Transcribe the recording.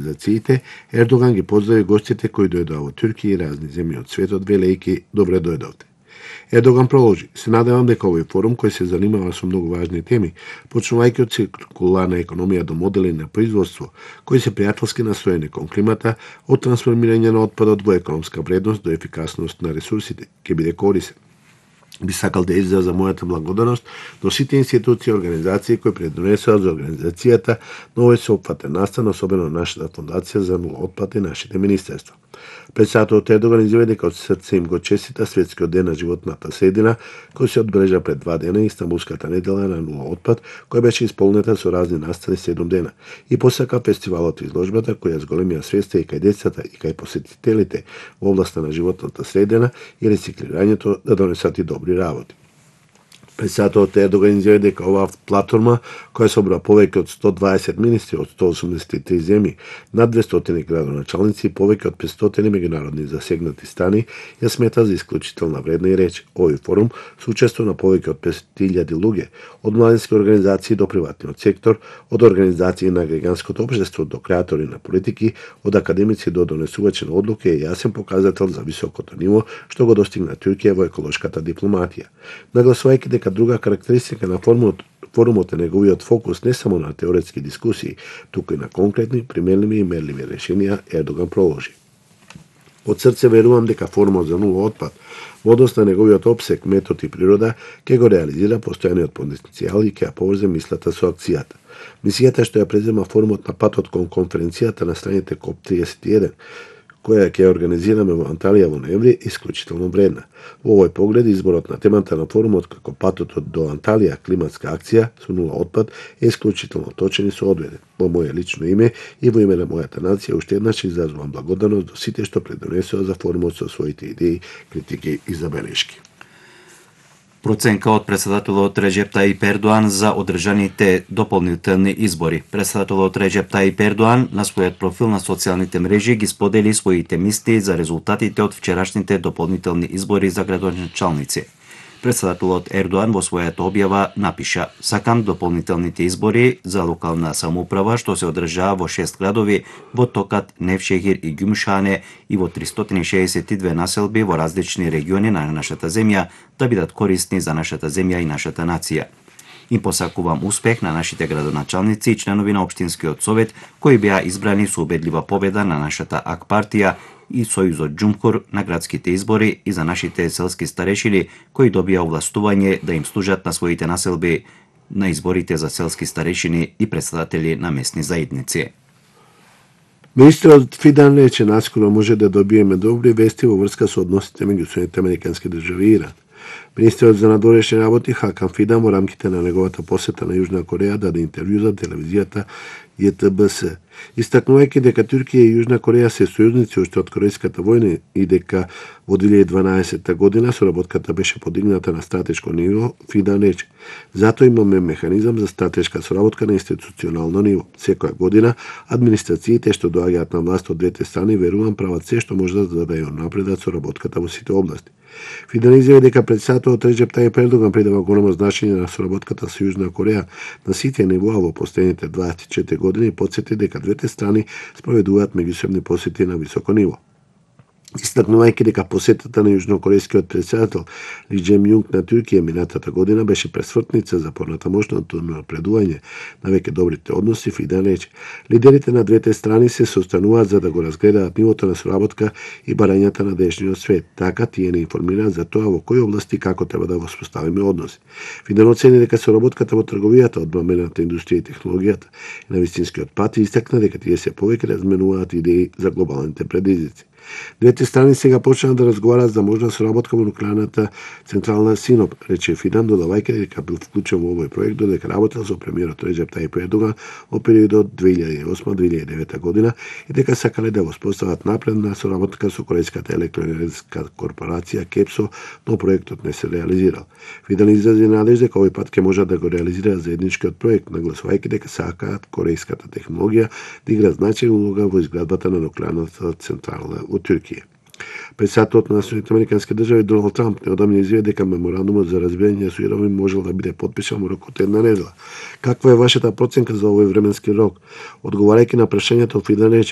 организациите, Ердоган ги поздрави гостите кои дојдоа во Туркија и разни земји од светот, велејќи добре дојдовте. Ердоган проложи: се надевам дека овој форум кој се занимава со многу важни теми, почнувајќи од циркуларна економија до модели на производство, кои се пријателски настроени кон климата, од трансформирање на отпадот во економска вредност до ефикасност на ресурсите, ќе биде корисен. Би сакал да изразам мојата благодарност до сите институции и организации кои придонесоа за организацијата на овој сеопфатен настан, особено нашата фондација за нула отпад и нашите министерства. Председателот Ердоган изјави дека од срце им го честита светскиот ден на животната средина, кој се одбележа пред 2 дена, и Истанбулската недела на нула отпад, која беше исполнета со разни настани 7 дена, и посака фестивалот и изложбата која зголемија свеста и кај децата и кај посетителите во областа на животната средина и рециклирањето да донесат и добри работи. Председателот Ердоган изјави дека оваа платформа, која собра повеќе од 120 министри од 183 земји, над 200 градоначалници и повеќе од 500 меѓународни засегнати страни, ја смета за исклучителна вредна и реч. Овој форум се учество на повеќе од 5000 луѓе, од младински организации до приватниот сектор, од организации на граѓанското општество до креатори на политики, од академици до донесувачи на одлуки, е јасен показател за високото ниво што го достигна Туркија во еколошката дипломатија. Нагласувајќи дека друга карактеристика на форумот е неговиот фокус не само на теоретски дискусии, туку и на конкретни, применливи и мерливи решенија, Ердоган проложи: од срце верувам дека форумот за нула отпад, во однос на неговиот опсег, метод и природа, ќе го реализира постојаниот потенцијал и ќе ја поврзе мислата со акцијата. Мисијата што ја презема форумот на патот кон конференцијата на страните КОП-31, која ќе организираме во Анталија во ноември, е исклучително вредна. Во овој поглед, изборот на темата на форумот како патот до Анталија, климатска акција со нула отпад, е исклучително точен и соодветен. Во моје лично име и во име на мојата нација уште еднаш изразувам благодарност до сите што придонесоа за форумот со своите идеи, критики и забелешки. Проценка од председателот Реджеп Таип Ердоан за одржаните дополнителни избори. Председателот Реджеп Таип Ердоан на својот профил на социјалните мрежи ги сподели своите мисли за резултатите од вчерашните дополнителни избори за градоначалници. Председателот Ердоан во својата објава напиша: сакам дополнителните избори за локална самоуправа што се одржаа во 6 градови во Токат, Невшехир и Гюмшане и во 362 населби во различни региони на нашата земја да бидат корисни за нашата земја и нашата нација. Им посакувам успех на нашите градоначалници и членови на Општинскиот совет кои беа избрани со убедлива победа на нашата АК партија и Сојузот Џумхур на градските избори и за нашите селски старешини кои добија овластување да им служат на своите населби на изборите за селски старешини и председатели на местни заедници. Министерот Фидан рече наскоро може да добиеме добри вести во врска со односите меѓу Соединетите американски држави и Иран. Министерот за надворешни работи Хакан Фидан во рамките на неговата посета на Јужна Кореја даде интервју за телевизијата ЈТБС, истакнувајќи дека Туркија и Јужна Кореја се сојузници уште од Корејската војна и дека во 2012 година соработката беше подигната на стратешко ниво. Фидан рече: затоа имаме механизам за стратешка соработка на институционално ниво. Секоја година администрациите што доаѓаат на власт од двете страни верувам прават се што можат за да ја напредат соработката во сите области. Фидан изјави дека председателот Реджеп Таип Ердоган придава големо значење на соработката со Јужна Кореја на сите нивоа во последните 24 години и потсети дека двете страни спроведуваат меѓусебни посети на високо ниво. Истакнувајќи дека посетата на јужнокорејскиот председател Ли Џем Јунг на Туркија минатата година беше пресвртница за понатамошното напредување на веќе добрите односи, Фидан рече: лидерите на двете страни се состануваат за да го разгледаат нивото на соработка и барањата на денешниот свет. Така тие не информираат за тоа во кои области како треба да воспоставиме односи. Фидан оцени дека соработката во трговијата, одбрамбената индустрија и технологијата и на вистинскиот пат и истакна дека тие се повеќе разменуваат идеи за глобалните предизвици. Двете страни сега почнаа да разговараат за можна соработка во нуклеарната централна Синоп, рече Фидан, додавајќи дека бил вклучен во овој проект додека работел со премиерот Реджеп Таип Ердоган во периодот 2008-2009 година и дека сакале да воспостават напредна соработка со Корејската електроенергетска корпорација КЕПСО, но проектот не се реализирал. Фидан изрази надеж дека овој пат ќе можат да го реализираат заедничкиот проект, нагласувајќи дека сакаат корејската технологија да игра значајна улога во изградбата на нуклеарната централа во Туркија. Председателот на Соединетите американски држави Доналд Трамп неодамна изјави дека меморандумот за разбирање со Иран можел да биде потпишан во рок од една недела. Каква е вашата проценка за овој временски рок? Одговарајќи на прашањето, Фидан рече: